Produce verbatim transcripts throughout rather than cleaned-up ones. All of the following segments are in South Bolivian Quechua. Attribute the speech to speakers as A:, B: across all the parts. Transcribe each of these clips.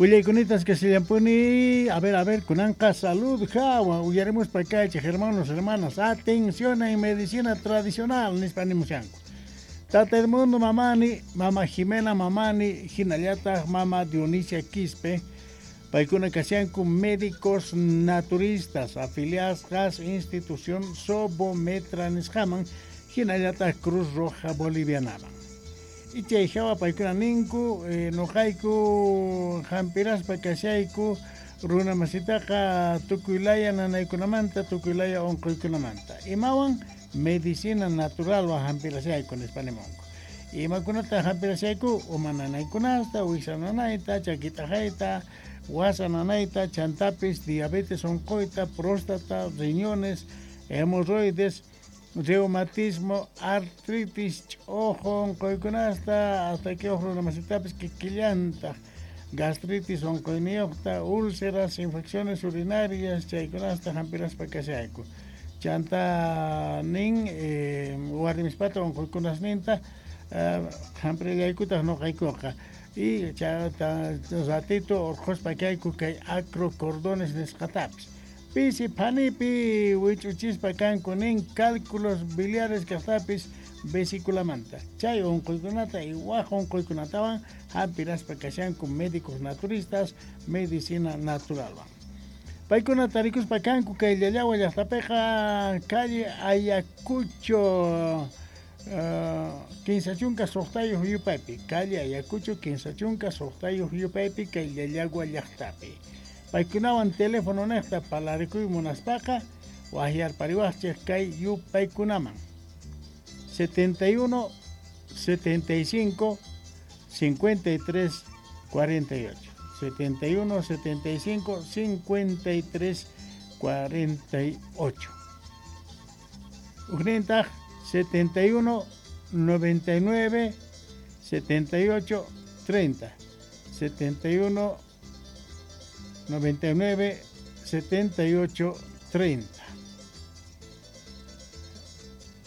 A: Willaykunita kasillampuni, a ver, a ver, kunanqa salud hawa, uyarimuspa kaychej, hermanos, hermanas, atención en medicina tradicional, nispa nimushanku. Tata Edmundo Mamani, Mama Jimena Mamani, hinallataq Mama Dionisia Quispe, paykuna kashanku médicos naturistas afiliadas institución Sobometra nisqaman, hinallataq Cruz Roja Bolivianaman. Y chay hawa paykuna ninku, eh, noqayku hampiraspa kashayku runa masitaqa tukuylaya nanaykunamanta, tukuylaya unquykunamanta. Imawan medicina natural wa hampirashayku nispa nimunku. Imakunata hampirashayku uma nanaykunasta, wiksa nanayta, chakitaqayta, wasa nanayta, chantapis, diabetes unquyta, próstata, riñones, hemorroides, reumatismo, artritis, ch'ojo unquykunasta, hasta que uj runa masitapis kikillantaq, gastritis unquyniyuqta, úlceras, infecciones urinarias, chaykunasta hampiraspa kashayku. Chanta nin eh, warmispata unquykunasninta eh, hampillaykutaq noqaykuqa. Y chata ratito urqhuspa kayku kay acrocordones nisqatapis. Pisi phanipi wich'uchispa kanku nin cálculos biliares kaqtapis vesiculamanta. Chay unquykunata y waj unquykunatawan hampiraspa kashanku médicos naturistas, medicina naturalwan. Paykuna tarikuspa kanku kay Llallagua llaqtapiqa calle Ayacucho uh, kinsa chunka suqtayuq yupaypi, calle Ayacucho kinsa chunka suqtayuq yupaypi kay Llallagua llaqtapi. Paykunawan teléfono niqta parlarikuy munaspaqa waqyarpariwaqchik kay yupaykunaman setenta y uno, setenta y cinco, cincuenta y tres, cuarenta y ocho. setenta y uno, setenta y cinco, cincuenta y tres, cuarenta y ocho. Ujnintaq setenta y uno, noventa y nueve, setenta y ocho, treinta. setenta y uno, noventa y nueve, setenta y ocho, treinta.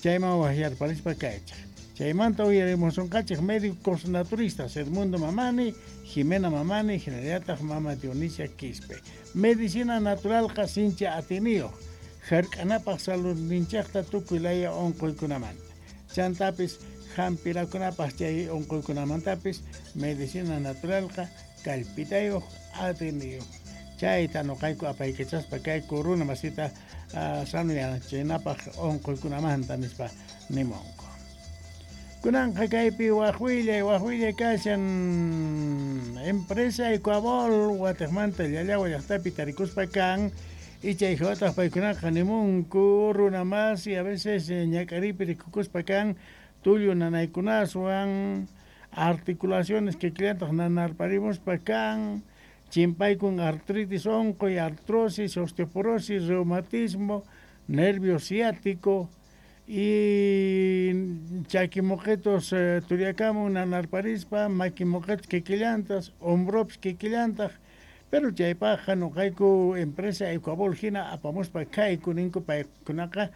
A: Chayman waqyarparispa kaychaq. Chaymanta uyarimusunqachik médicos naturistas Edmundo Mamani, Jimena Mamani, hinallataq Mama Dionisia Quispe. Medicina naturalqa sincha atiniyuq, hark'anapaq saludninchikta tukuy laya unquykunamanta. Chantapis hampirakunapaq chay unquykunamantapis medicina naturalqa kallpitayuq atiniyuq. Chayta noqayku apaykachaspa kayku runa masita uh, sanuyanachinapaq unquykunamanta nispa nimunku. Kunanqa kaypi waj willay, waj willay kashan empresa Ecuabol watiqmanta Llallagua llaqtapi tarikuspa kan y chay hawataq paykunaqa nimunku runa masi a veces ñak'aripi rikukuspa kan tullu nanaykunaswan articulaciones que killantaq nanarparimuspa kan chimpaykun artritis unquy, artrosis, osteoporosis, reumatismo, nervio ciático y chakimoqetos eh, turiakamun nanarparispa, makimoqetos kikillantas, hombropis kikillantaq, pero chaypaqqa noqayku empresa Ecuabol hina apamuspa kayku ninku paykunaqa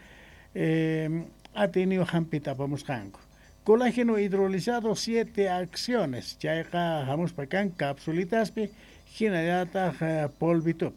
A: eh, atiniyuq hampita apamusqanku. Colágeno hidrolizado siete acciones, chayqa hamuspa kan capsulitaspi hinallataq eh, polvitupi.